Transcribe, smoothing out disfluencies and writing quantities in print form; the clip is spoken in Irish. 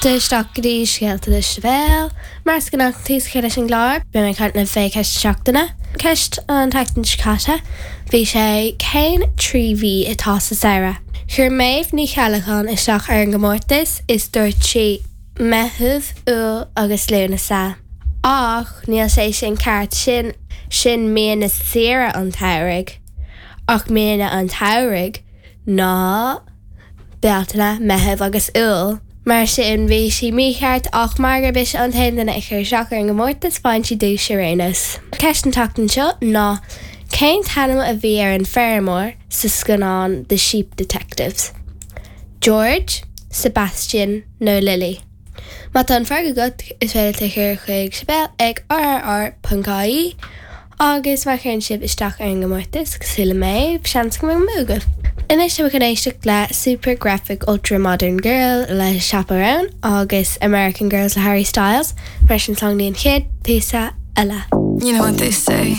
Isteach go dtí Scéalta le Sibéal. Mar is gnách tús a chur leis an gclár, beidh mé ag caint libh fé cheist na seachtaine. Ceist an tseachtain seo caite, bhí sé cén 3 mhí atá sa samhradh? Chuir Méabh Ní Cheallacháin isteach ar an gcomórtas is dúirt sí Meitheamh, Iúil agus Lúnasa. Ach níl sé sin ceart, sin sin míonna saoire an tsamhraidh. Ach míonna an tsamhraidh ná. Bealtaine, Meitheamh agus Iúil. Mar sin, bhí sí mícheart ach mar gurb ise an t-aon duine a chuir isteach ar an gcomórtas, faigheann sí duais ar aon nós. Ceist na tseachtain seo ná cén t-ainm a bhí ar an feirmeoir sa scannán The Sheep Detectives? George, Sebastian nó Lily? Má tá an freagra agat, is féidir leat é a chur chuig sibéal ag rrr.ie agus má chuireann sibh isteach ar an gcomórtas, cosúil le Méabh, seans go mbeidh an bua agaibh. Anois tá muid chun éisteacht le Super Graphic Ultra Modern Girl le Chappell Roan agus American Girls le Harry Styles, mar sin slán go dtí an chéad phíosa eile. You know what they say.